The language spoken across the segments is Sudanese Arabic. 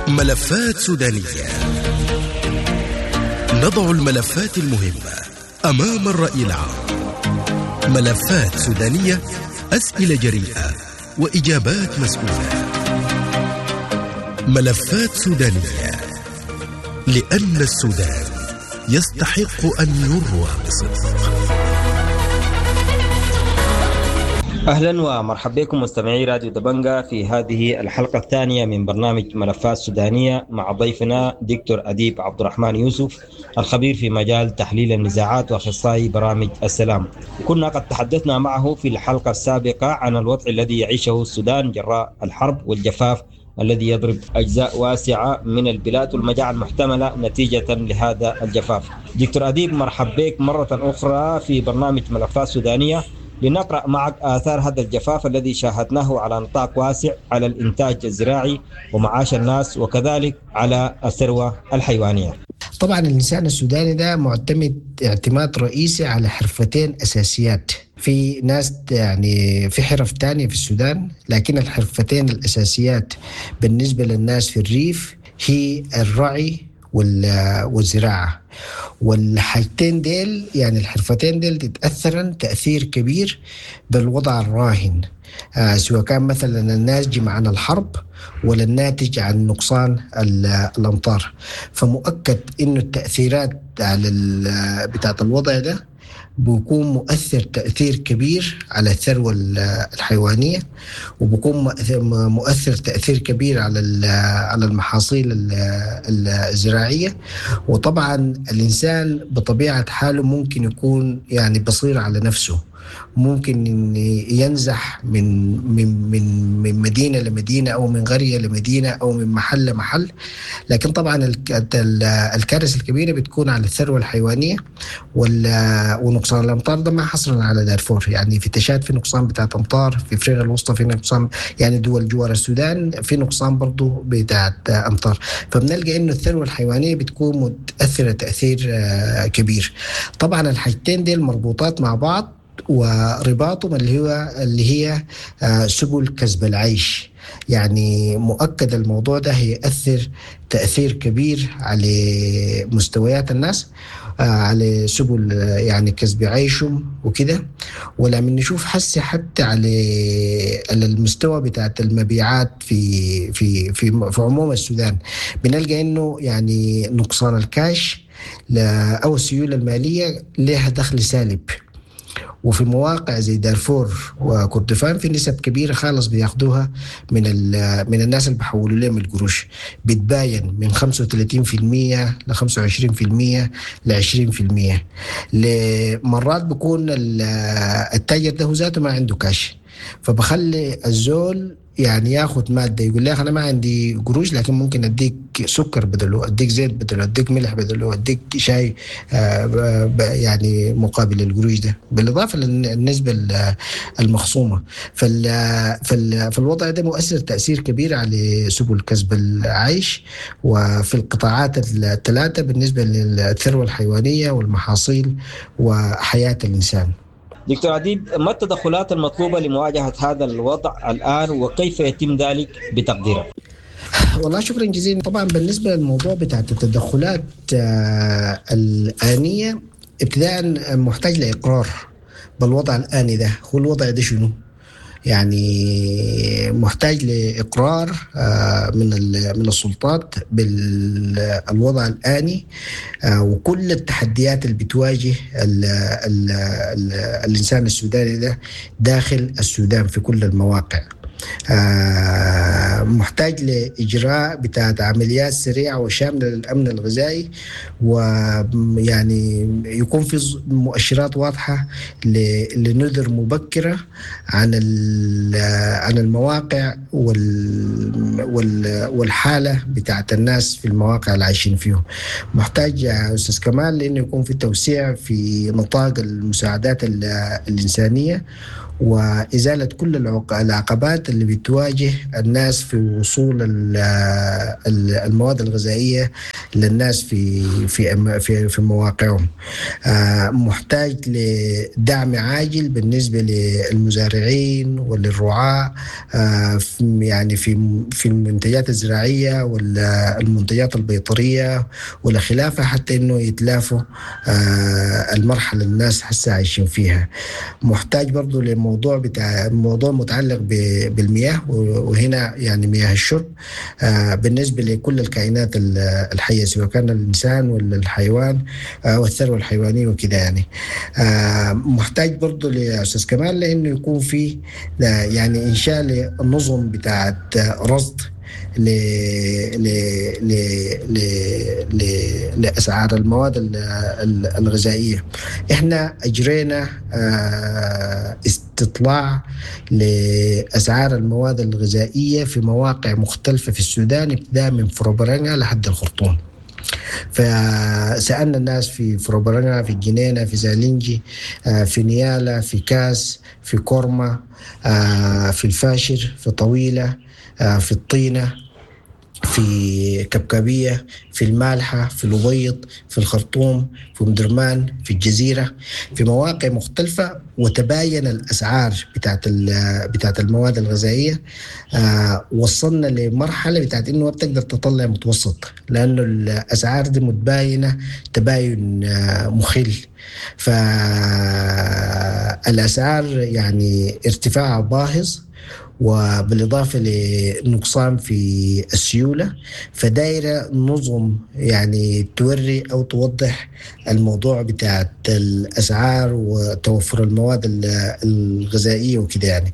ملفات سودانية. نضع الملفات المهمة أمام الرأي العام. ملفات سودانية، أسئلة جريئة وإجابات مسؤولة. ملفات سودانية، لأن السودان يستحق أن يروى بصدق. أهلا ومرحبا بكم مستمعي راديو دبنجا في هذه الحلقة الثانية من برنامج ملفات سودانية مع ضيفنا دكتور أديب عبد الرحمن يوسف، الخبير في مجال تحليل النزاعات وأخصائي برامج السلام. كنا قد تحدثنا معه في الحلقة السابقة عن الوضع الذي يعيشه السودان جراء الحرب والجفاف الذي يضرب أجزاء واسعة من البلاد والمجاعة المحتملة نتيجة لهذا الجفاف. دكتور أديب، مرحبا بك مرة أخرى في برنامج ملفات سودانية لنقرأ معك آثار هذا الجفاف الذي شاهدناه على نطاق واسع على الإنتاج الزراعي ومعاش الناس وكذلك على الثروة الحيوانية. طبعا الإنسان السوداني ده معتمد اعتماد رئيسي على حرفتين أساسيات. في ناس يعني في حرف تانية في السودان، لكن الحرفتين الأساسيات بالنسبة للناس في الريف هي الرعي والزراعة. والحاجتين ديل يعني الحرفتين ديل تتأثرن تأثير كبير بالوضع الراهن، سواء كان مثلا الناتج عن الحرب ولا الناتج عن نقصان الأمطار. فمؤكد إنه التأثيرات على بتاعت الوضع ده بيكون مؤثر تأثير كبير على الثروة الحيوانية، وبيكون مؤثر تأثير كبير على المحاصيل الزراعية. وطبعا الإنسان بطبيعة حاله ممكن يكون يعني بصير على نفسه، ممكن ينزح من من من من مدينة لمدينة أو من قرية لمدينة أو من محل لمحل، لكن طبعا الكارثة الكبيرة بتكون على الثروة الحيوانية ونقصان الأمطار. ده ما حصرا على دارفور، يعني في تشاد في نقصان بتاع أمطار، في أفريقيا الوسطى في نقصان، يعني دول جوار السودان في نقصان برضو بتاع أمطار. فبنلقى إنه الثروة الحيوانية بتكون متأثرة تأثير كبير. طبعا الحاجتين دي مربوطات مع بعض، ورباطهم اللي هي سبل كسب العيش. يعني مؤكد الموضوع ده هيأثر تأثير كبير على مستويات الناس، على سبل يعني كسب عيشهم وكده. ولما نشوف حس حتى على المستوى بتاعت المبيعات في في في في عموم السودان، بنلقى انه يعني نقصان الكاش او السيولة المالية لها دخل سالب. وفي مواقع زي دارفور وكردفان في نسب كبيرة خالص بياخدوها من الناس اللي بيحولوا لهم القروش، بتباين من 35% ل 25% ل 20%. لمرات بيكون التاجر ده ذاته ما عنده كاش، فبخلي الزول يعني ياخد مادة، يقول لي أنا ما عندي قروش لكن ممكن أديك سكر بدله، أديك زيت بدله، أديك ملح بدله، أديك شاي يعني مقابل القروش ده، بالإضافة للنسبة المخصومة. فالوضع ده مؤثر تأثير كبير على سبل كسب العيش وفي القطاعات الثلاثة بالنسبة للثروة الحيوانية والمحاصيل وحياة الإنسان. دكتور أديب، ما التدخلات المطلوبة لمواجهة هذا الوضع الآن وكيف يتم ذلك بتقديرك؟ والله شكرا جزيلا. طبعا بالنسبة للموضوع بتاع التدخلات الآنية، ابتداء محتاج لإقرار بالوضع الآني ده. هو الوضع ده شنو؟ يعني محتاج لإقرار من السلطات بالوضع الآني وكل التحديات اللي بتواجه ال ال ال الإنسان السوداني ده داخل السودان في كل المواقع. محتاج لإجراء بتاعت عمليات سريعة وشاملة للأمن الغذائي، ويعني يكون في مؤشرات واضحة لنذر مبكرة عن المواقع والحالة بتاعت الناس في المواقع اللي عايشين فيهم. محتاج يا أستاذ كمال لأنه يكون في توسيع في نطاق المساعدات الإنسانية وإزالة كل العقبات اللي بتواجه الناس في وصول المواد الغذائية للناس في في في, في مواقعهم. محتاج لدعم عاجل بالنسبة للمزارعين وللرعاة، يعني في المنتجات الزراعية والمنتجات البيطريه والخلافة، حتى انه يتلافوا المرحلة الناس هسه عايشين فيها. محتاج برضو لموضوع بتاع موضوع متعلق بالمياه، وهنا يعني مياه الشرب بالنسبة لكل الكائنات الحية، سواء كان الانسان ولا الحيوان والثروة الحيوانية وكده يعني. محتاج برضو لاستاذ كمال لانه يكون في يعني انشاء لنظم بتاعت رصد ل ل ل ل ل لاسعار المواد الغذائية. احنا اجرينا استطلاع لاسعار المواد الغذائية في مواقع مختلفة في السودان، ابتداء من فروبرانجا لحد الخرطوم. فسألنا الناس في فروبرانجا، في الجنينة، في زالنجي، في نيالا، في كاس، في كورما، في الفاشر، في طويلة، في الطينة، في كبكبية، في المالحة، في الأبيض، في الخرطوم، في أم درمان، في الجزيرة، في مواقع مختلفة، وتباين الأسعار بتاعت المواد الغذائية. وصلنا لمرحلة بتاعت إنه ما بتقدر تطلع متوسط، لأنه الأسعار دي متباينة تباين مخل. فالأسعار يعني ارتفاعها باهظ، وبالإضافة لنقصان في السيولة، فدايرة نظم يعني توري أو توضح الموضوع بتاع الأسعار وتوفر المواد الغذائية وكده يعني.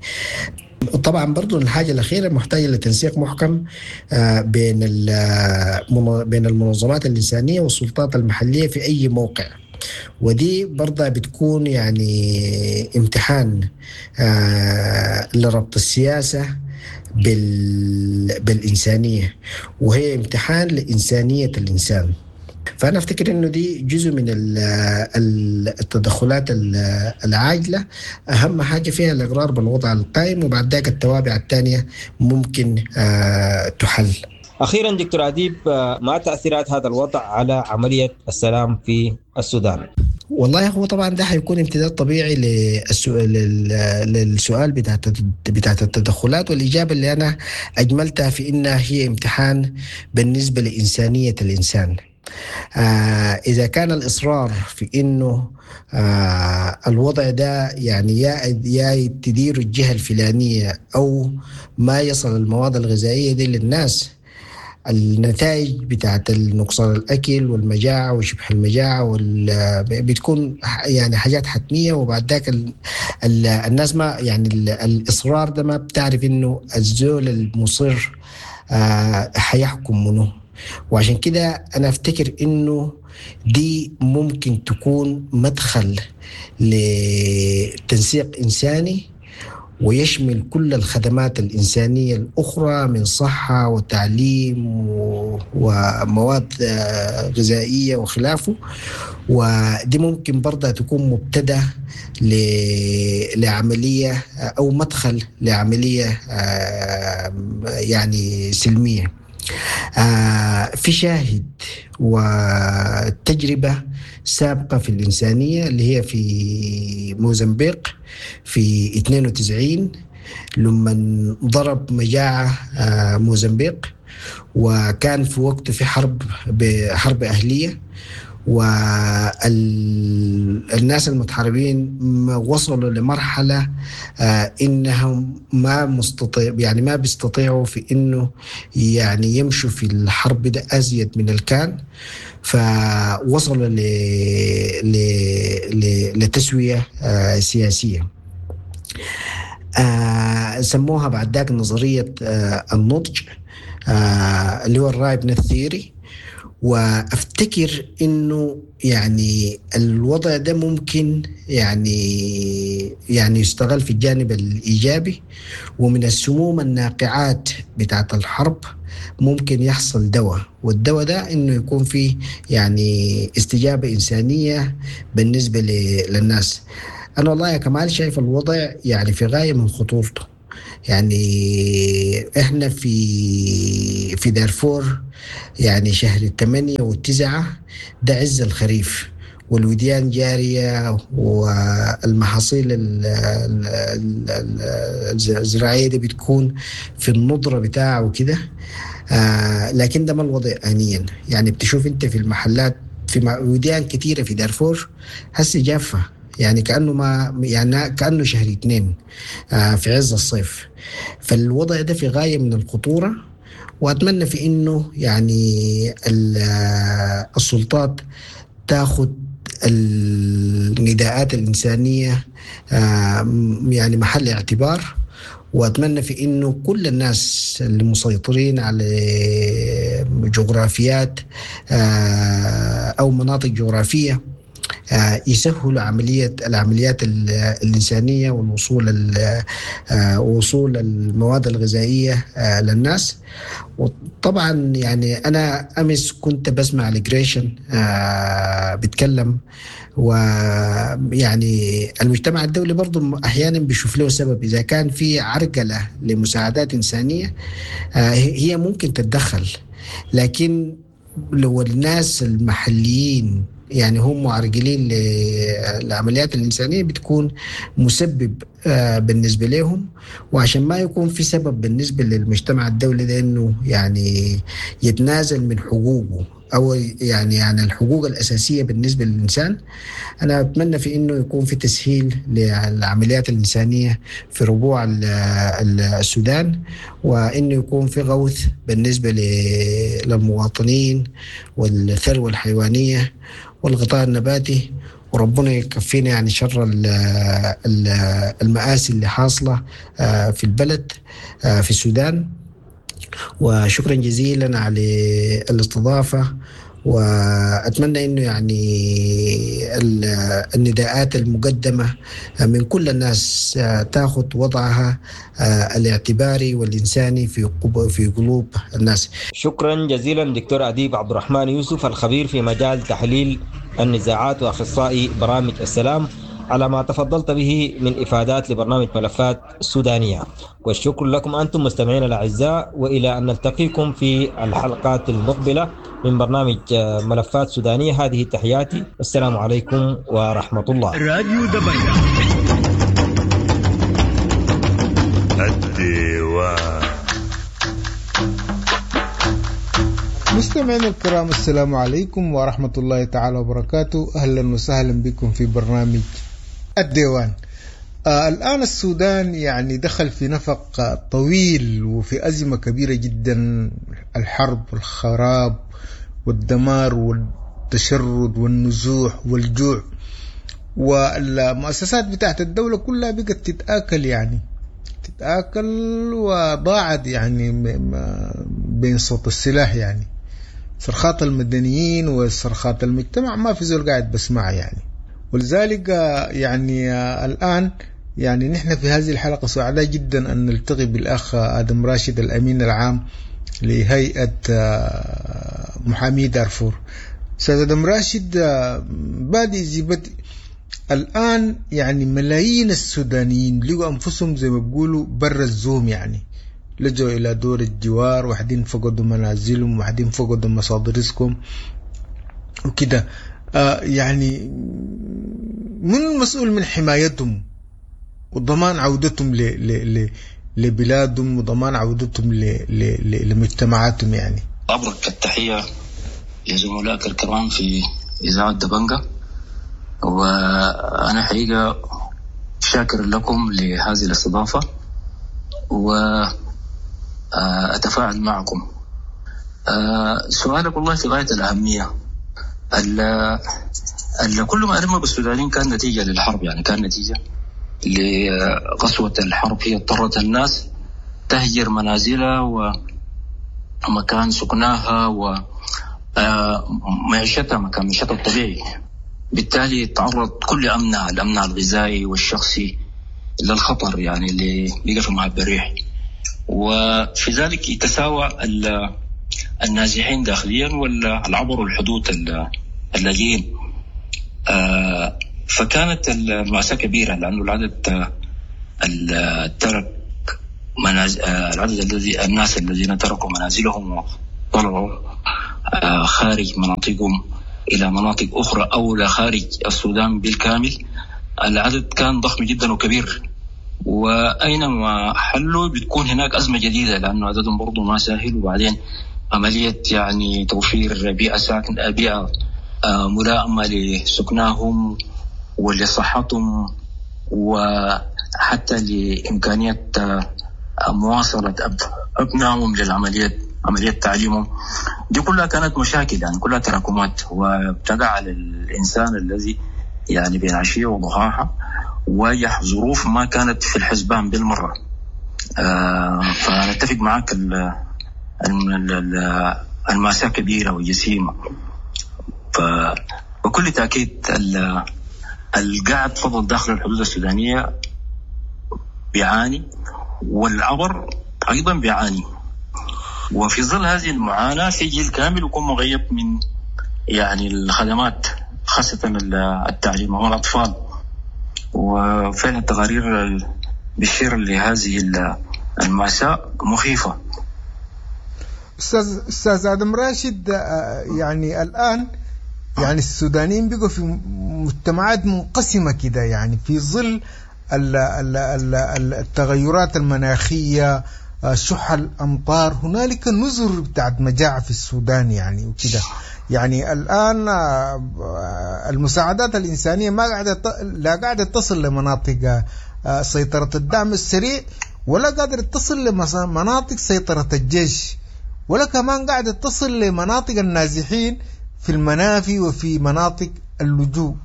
طبعا برضو الحاجة الأخيرة محتاجة لتنسيق محكم بين المنظمات الإنسانية والسلطات المحلية في أي موقع، ودي برضه بتكون يعني امتحان لربط السياسة بالإنسانية، وهي امتحان لإنسانية الإنسان. فأنا أفتكر أنه دي جزء من التدخلات العاجلة، أهم حاجة فيها الإقرار بالوضع القائم، وبعد ذاك التوابع الثانية ممكن تحل. أخيرا دكتور أديب، ما تأثيرات هذا الوضع على عملية السلام في السودان؟ والله هو طبعا ده حيكون امتداد طبيعي للسؤال بتاعت التدخلات، والإجابة اللي أنا أجملتها في إنها هي امتحان بالنسبة لإنسانية الإنسان. إذا كان الإصرار في إنه الوضع ده يعني يا تدير الجهة الفلانية أو ما يصل المواد الغذائية دي للناس، النتائج بتاعت النقصان الأكل والمجاعة وشبه المجاعة بتكون يعني حاجات حتمية. وبعد ذاك الناس ما يعني الإصرار ده ما بتعرف إنه الزول المصر حيحكم منه. وعشان كده أنا أفتكر إنه دي ممكن تكون مدخل لتنسيق إنساني ويشمل كل الخدمات الإنسانية الأخرى من صحة وتعليم ومواد غذائية وخلافه. ودي ممكن برضه تكون مبتدأ لعملية أو مدخل لعملية يعني سلمية. في شاهد وتجربة سابقة في الإنسانية اللي هي في موزمبيق في 92 لما ضرب مجاعة موزمبيق، وكان في وقته في حرب أهلية، والناس المتحاربين وصلوا لمرحلة إنهم ما مستطيع يعني ما بيستطيعوا في إنه يعني يمشوا في الحرب ده أزيد من الكان، فوصلوا لتسوية سياسية سموها بعد ذاك نظرية النضج اللي هو ال ripeness theory. وافتكر انه يعني الوضع ده ممكن يعني يستغل في الجانب الايجابي، ومن السموم الناقعات بتاعت الحرب ممكن يحصل دواء، والدواء ده انه يكون فيه يعني استجابة انسانية بالنسبة للناس. انا والله يا كمال شايف الوضع يعني في غاية من خطورته. يعني احنا في دارفور يعني شهر 8 و9 ده عز الخريف، والوديان جارية والمحاصيل الزراعية دي بتكون في النضرة بتاعه وكده. لكن ده ما الوضع آنيا. يعني بتشوف انت في المحلات في وديان كثيرة في دارفور هسه جافة، يعني كأنه ما يعني كأنه شهر 2 في عز الصيف. فالوضع ده في غاية من الخطورة، وأتمنى في إنه يعني السلطات تاخد النداءات الإنسانية يعني محل اعتبار، وأتمنى في إنه كل الناس اللي مسيطرين على جغرافيات أو مناطق جغرافية يسهلوا العمليات الإنسانية والوصول وصول المواد الغذائية للناس. وطبعا يعني أنا أمس كنت بسمع لجريشن بيتكلم، ويعني المجتمع الدولي برضو أحيانا بيشوف له سبب. إذا كان في عرقلة لمساعدات إنسانية هي ممكن تتدخل، لكن لو الناس المحليين يعني هم معرقلين للعمليات الإنسانية بتكون مسبب بالنسبة لهم. وعشان ما يكون في سبب بالنسبة للمجتمع الدولي ده إنه يعني يتنازل من حقوقه أو يعني الحقوق الأساسية بالنسبة للإنسان، أنا أتمنى في إنه يكون في تسهيل للعمليات الإنسانية في ربوع السودان، وإنه يكون في غوث بالنسبة للمواطنين والثروة الحيوانية والغطاء النباتي، وربنا يكفينا يعني شر المآسي اللي حاصلة في البلد في السودان. وشكرا جزيلا على الاستضافة، وأتمنى أنه يعني النداءات المقدمة من كل الناس تأخذ وضعها الاعتباري والإنساني في قلوب الناس. شكرا جزيلا دكتور أديب عبد الرحمن يوسف، الخبير في مجال تحليل النزاعات وأخصائي برامج السلام، على ما تفضلت به من إفادات لبرنامج ملفات سودانية. والشكر لكم أنتم مستمعين الأعزاء، وإلى أن نلتقيكم في الحلقات المقبلة من برنامج ملفات سودانية. هذه تحياتي، والسلام عليكم ورحمة الله. راديو دبنجة الديوان. مستمعينا الكرام، السلام عليكم ورحمة الله تعالى وبركاته. أهلا وسهلا بكم في برنامج الديوان. الآن السودان يعني دخل في نفق طويل وفي أزمة كبيرة جدا، الحرب والخراب والدمار والتشرد والنزوح والجوع، والمؤسسات بتاعت الدولة كلها بقت تتآكل، يعني تتآكل وضاعت يعني بين صوت السلاح، يعني صرخات المدنيين وصرخات المجتمع ما في زول قاعد بسمعها يعني. ولذلك يعني الآن يعني نحن في هذه الحلقة سعداء جدا أن نلتقي بالأخ آدم راشد الأمين العام لهيئة محامي دارفور. أستاذ آدم راشد، بادئ ذي بدء الآن يعني ملايين السودانيين لقوا أنفسهم زي ما بيقولوا برا الزوم، يعني لجوا إلى دور الجوار، واحدين فقدوا منازلهم، واحدين فقدوا مصادر رزقهم وكده. يعني من المسؤول من حمايتهم وضمان عودتهم لبلادهم وضمان عودتهم لمجتمعاتهم؟ يعني أبرك التحية لزملائك الكرام في إذاعة دبنجة، وأنا حقيقة شاكر لكم لهذه الاستضافة وأتفاعل معكم. سؤالك والله في غاية الأهمية. كل ما ألم بالسودانيين كان نتيجة للحرب، يعني كان نتيجة لقسوة الحرب، هي اضطرت الناس تهجر منازلها ومكان سكناها ومعيشتها، مكان معيشتها الطبيعي. بالتالي تعرض كل أمنها، الأمن الغذائي والشخصي، للخطر، يعني اللي بقى في مهب الريح. وفي ذلك يتساوى النازحين داخليا والعبروا الحدود اللاجئين. فكانت المأساة كبيرة، لأنه العدد ترك العدد الذي الناس الذين تركوا منازلهم طلعوا خارج مناطقهم إلى مناطق أخرى أو لخارج السودان بالكامل. العدد كان ضخم جدا وكبير، وأينما حلوا بتكون هناك أزمة جديدة لأنه عددهم برضو ما سهل. وبعدين عملية يعني توفير بيئة ملائمة لسكناهم ولصحتهم وحتى لإمكانية مواصلة أبنائهم للعملية، عملية تعليمهم، دي كلها كانت مشاكل يعني كلها تراكمات، وابتدع على الإنسان الذي يعني بين عشية وضحاها واجه ظروف ما كانت في الحسبان بالمرة. فنتفق معك المأساة كبيرة وجسيمة. فبكل تأكيد القاعد فضل داخل الحدود السودانية بيعاني، والعبر أيضا بيعاني، وفي ظل هذه المعاناة في جيل كامل يكون مغيب من يعني الخدمات، خاصة التعليم والأطفال. وفعلا التقارير بتشير لهذه المأساة مخيفة. أستاذ آدم راشد، يعني الآن يعني السودانيين بقوا في مجتمعات منقسمة كده، يعني في ظل التغيرات المناخية، شح الأمطار، هنالك نذر بتاعت مجاعة في السودان يعني وكده. يعني الآن المساعدات الإنسانية ما قاعدة، لا قاعدة تصل لمناطق سيطرة الدعم السريع، ولا قادرة تصل لمناطق سيطرة الجيش، ولا كمان قاعدة تصل لمناطق النازحين في المنافي وفي مناطق اللجوء.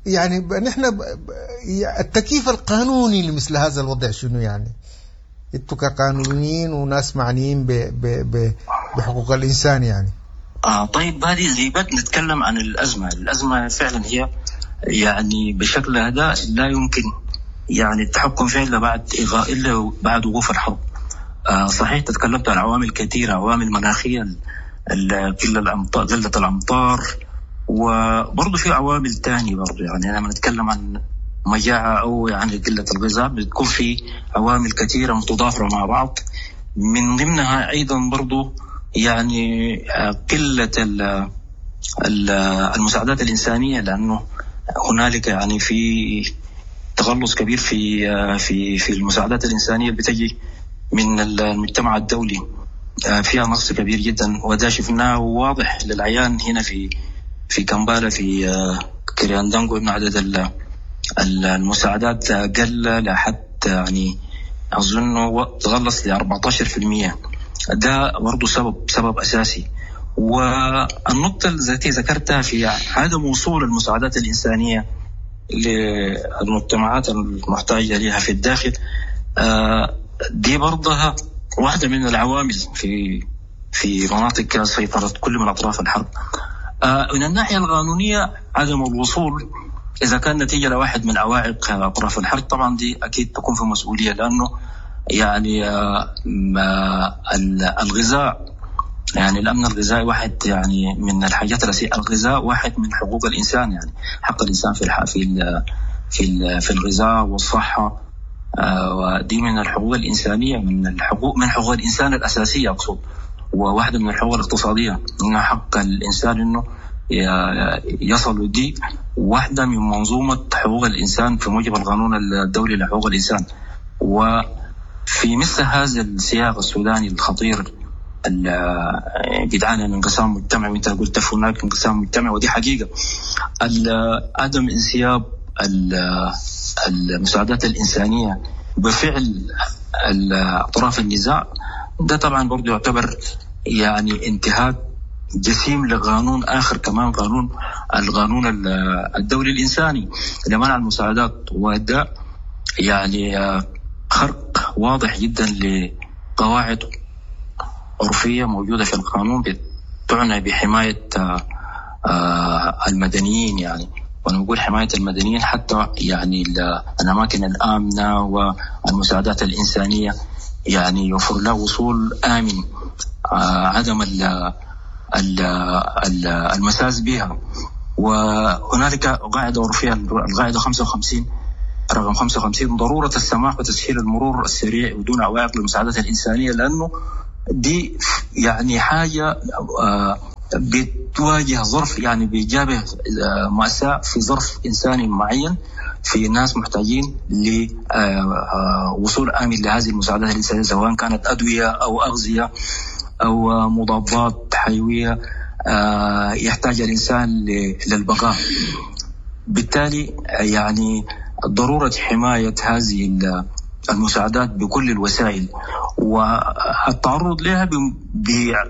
يعني نحن التكييف القانوني لمثل هذا الوضع شنو يعني؟ انتوا كقانونيين وناس معنيين بحقوق الإنسان يعني. طيب هذه زيبات نتكلم عن الأزمة. الأزمة فعلا هي يعني بشكل هذا لا يمكن يعني التحكم فيها إلا بعد وقوف الحرب. صحيح تتكلمت عن عوامل كثيرة، عوامل مناخية، قلة الأمطار، وبرضه في عوامل تانية برضه. يعني لما نتكلم عن مجاعة أو يعني قلة الغذاء بتكون في عوامل كثيرة متضافرة مع بعض، من ضمنها أيضا برضه يعني قلة المساعدات الإنسانية، لأنه هنالك يعني في تغلص كبير في في في المساعدات الإنسانية اللي بتجي من المجتمع الدولي، فيها نقص كبير جدا، وده شفناه واضح للعيان هنا في كامبالا في كرياندانغو، إن عدد المساعدات قل لحد يعني أظن تغلص ل 14%. ده برضه سبب أساسي. والنقطة التي ذكرتها في عدم وصول المساعدات الإنسانية للمجتمعات المحتاجة لها في الداخل، دي برضها واحدة من العوامل في مناطق سيطرة كل من أطراف الحرب. من الناحية القانونية عدم الوصول إذا كان نتيجة لواحد من عوائق أطراف الحرب طبعا دي أكيد تكون في مسؤولية، لأنه يعني الغذاء، يعني الأمن الغذائي واحد يعني من الحاجات الأساسية. الغذاء واحد من حقوق الإنسان، يعني حق الإنسان في في في الغذاء والصحة، ودي من الحقوق الإنسانية، من حقوق الإنسان الأساسية أقصد، وواحدة من الحقوق الاقتصادية، إن حق الإنسان إنه يصل، دي واحدة من منظومة حقوق الإنسان في موجب القانون الدولي لحقوق الإنسان. وفي مثل هذا السياق السوداني الخطير بيدعانا انقسام مجتمعي، وانت قلت هناك انقسام مجتمعي ودي حقيقة، عدم انسياب المساعدات الإنسانية بفعل أطراف النزاع ده طبعا برضو يعتبر يعني انتهاك جسيم لقانون آخر كمان، القانون الدولي الإنساني لمنع المساعدات، وده يعني خرق واضح جدا لقواعد عرفية موجودة في القانون تعنى بحماية المدنيين. يعني ونقول حماية المدنيين حتى يعني الأماكن الآمنة والمساعدات الإنسانية يعني يوفر له وصول آمن، عدم المساس بها. وهنالك قاعدة عرفية، القاعدة 55 رقم 55، ضرورة السماح وتسهيل المرور السريع بدون عوائق للمساعدات الإنسانية، لأنه دي يعني حاجة بتواجه ظرف، يعني بيجابه مأساة في ظرف إنساني معين، في ناس محتاجين لوصول آمن لهذه المساعدات الإنسانية، سواء كانت أدوية أو أغذية أو مضادات حيوية يحتاج الإنسان للبقاء. بالتالي يعني ضرورة حماية هذه المساعدات بكل الوسائل والتعرض لها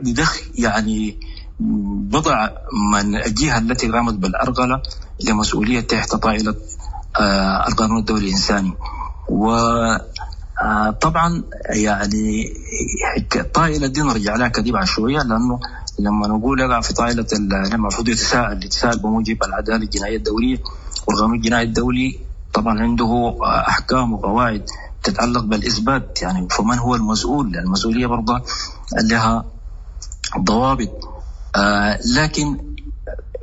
بدخل يعني بضع من الجهة التي قامت بالأرغلة لمسؤولية تحت طائلة القانون الدولي الإنساني. وطبعا يعني الطائلة دي نرجع لها كدي بعد شوية، لأنه لما نقول يقع في طائلة المفروض يتساءل بموجب العدالة الجنائية الدولية والقانون الجنائي الدولي طبعا عنده أحكام وقواعد تتعلق بالإثبات، يعني فمن هو المسؤول؟ المسؤولية برضه لها ضوابط. لكن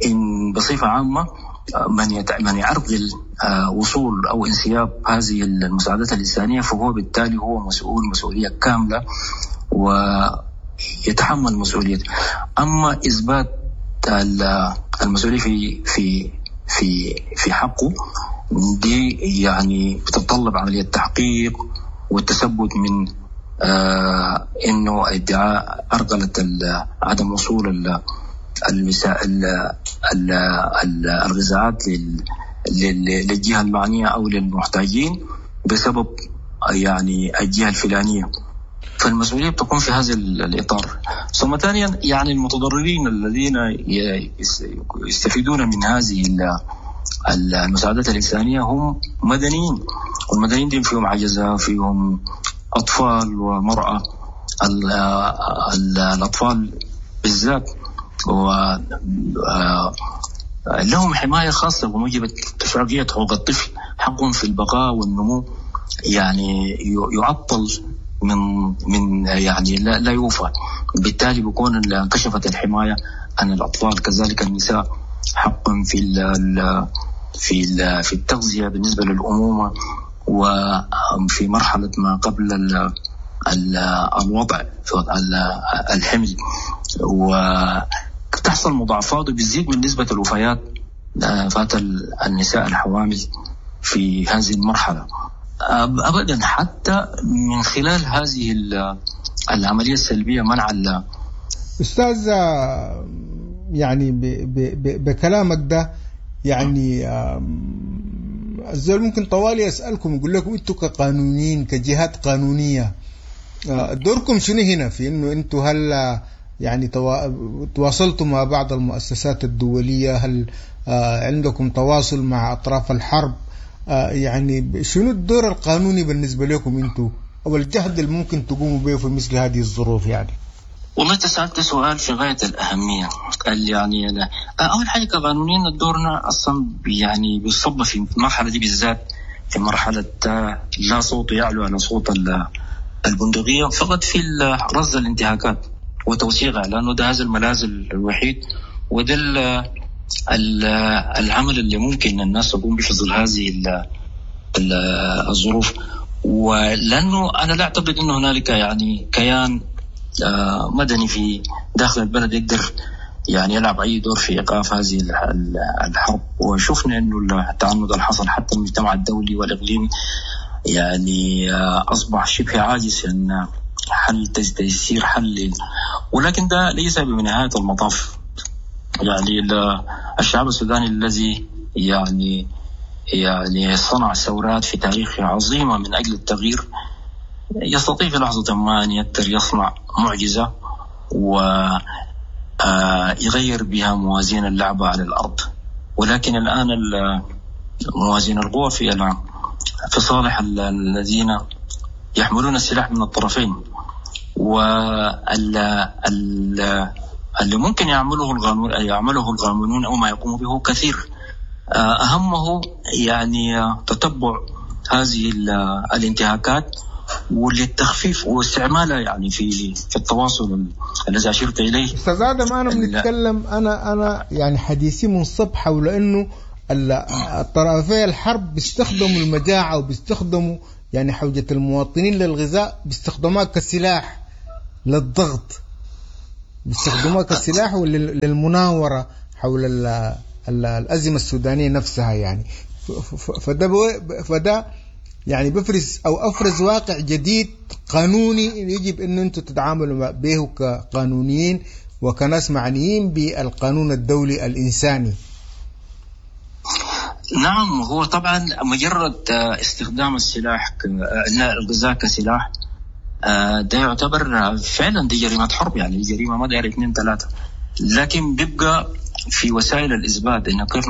إن بصفة عامة من يعرقل وصول أو انسياب هذه المساعدات الإنسانية فهو بالتالي هو مسؤول مسؤولية كاملة ويتحمل مسؤوليته. أما إثبات المسؤولية في في في في حقه دي يعني بتتطلب عملية تحقيق والتثبت من إنه ادعاء أرغلت عدم وصول الغذاءات للجهة المعنية أو للمحتاجين بسبب يعني الجهة الفلانية، فالمسؤولية بتكون في هذا الإطار. ثم ثانيا يعني المتضررين الذين يستفيدون من هذه المساعدات الإنسانية هم مدنيين، والمدنيين دي فيهم عجزة، فيهم أطفال ومرأة. الأطفال بالذات لهم حماية خاصة بموجب اتفاقية حقوق الطفل، حقهم في البقاء والنمو يعني يعطل من يعني لا يوفى، بالتالي بيكون انكشفت الحماية عن الأطفال. كذلك النساء حق في ال في ال في التغذية بالنسبة للأمومة وفي مرحلة ما قبل الوضع في الحمل، وتحصل مضاعفات وبتزيد من نسبة الوفيات فات النساء الحوامل في هذه المرحلة. أبدا حتى من خلال هذه العملية السلبية منع. أستاذ، يعني بكلامك ده يعني الزول ممكن طوالي يسألكم يقول لكم أنتوا كقانونيين كجهات قانونية دوركم شنو هنا في إنه أنتوا هل يعني تواصلتوا مع بعض المؤسسات الدولية؟ هل عندكم تواصل مع أطراف الحرب؟ يعني شنو الدور القانوني بالنسبة لكم أنتوا أو الجهد اللي ممكن تقوموا به في مثل هذه الظروف؟ يعني والله تسألت سؤال في غاية الأهمية. يعني أول حاجة كقانونيين دورنا أصلا يعني بيصب في المرحلة دي بالذات، في مرحلة لا صوت يعلو على صوت البندقية، فقط في رصد الانتهاكات وتوثيقها، لأنه ده هذا الملاذ الوحيد وده العمل اللي ممكن الناس تقوم به في ظل هذه الظروف. ولأنه أنا لا أعتقد أنه هنالك يعني كيان مدني في داخل البلد يقدر يعني يلعب أي دور في إيقاف هذه الحرب. وشفنا أنه التعنت اللي حصل حتى المجتمع الدولي والإقليمي يعني أصبح شبه عاجز أن حل تيسير حل، ولكن ده ليس بنهاية المطاف. يعني الشعب السوداني الذي يعني صنع ثورات في تاريخه عظيمة من أجل التغيير يستطيع في لحظة ما أن يقدر يصنع معجزة ويغير بها موازين اللعبة على الأرض. ولكن الآن موازين القوى في صالح الذين يحملون السلاح من الطرفين، واللي ممكن يعمله القانونيون أو ما يقوم به كثير. أهمه يعني تتبع هذه الانتهاكات وللتخفيف واستعمالها يعني في التواصل الذي أشرت إليه. أستاذ آدم، أنا بنتكلم أنا يعني حديثي منصب حول إنه الطرفي الحرب بيستخدموا المجاعة وبيستخدموا يعني حوجة المواطنين للغذاء بيستخدموها كسلاح. للضغط، بيستخدموها كسلاح وللمناورة حول الأزمة السودانية نفسها يعني. فده يعني بفرز أو أفرز واقع جديد قانوني يجب أن أنتم تتعاملوا به كقانونيين وكناس معنيين بالقانون الدولي الإنساني. نعم، هو طبعا مجرد استخدام السلاح الغذاء كسلاح ده يعتبر فعلا دي جريمة حرب، يعني جريمة ما داير 2 3، لكن بيبقى في وسائل الإثبات إنه كيف